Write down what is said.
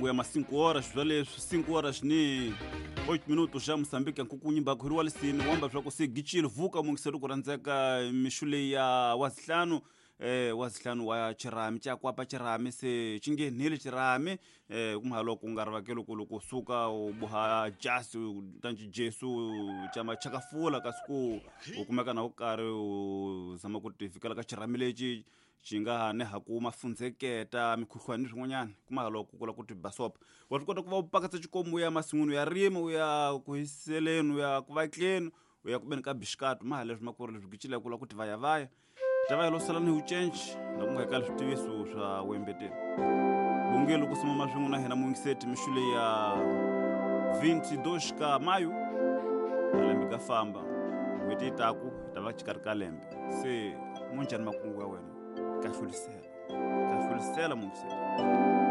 Makungu ya ma 5 horas bya leswi 5 horas ni 8 minutos xa Mozambique nkukunyi mbakhuri wa lisini wamba swa ku se gicile vuka mungiseri ku rhandzeka mixu leyi ya wazihlanu wazihlanu wa chirami chakwapa chirami se xi nghenile chirami kumha loko nga ri vakelo ku loko suka u boha jasi tanci jesu chama chakafula kasi ku u kumeka na u karhi u zama ku ti fikela ka chirami lexi xi nga ha ne ha ku mafundzeketa mikhuhlwani ni swin'wanyana kuma loko ku lava ku ti basopa wa swi kota ku va u pakatsa xikomu u ya masin'wini u ya rima u ya ku hiseleni u ya ku vatleni u ya ku beni ka bixikatu ma ha leswi ma ku ri leswi gicile ku lava ku ti vayavaya ta va lo sala ni ucenci na ku nga eka switiviso swa wembeteni bungelo ku sumama swin'we na hina muyingiseti mixu leyi ya 22 ka mayu malembe ka famba n'hweti yi taku yi ta va xikarhi ka lembe se munjhani makungu ya wena ka hlulisela ka hlulisela muyingiseti.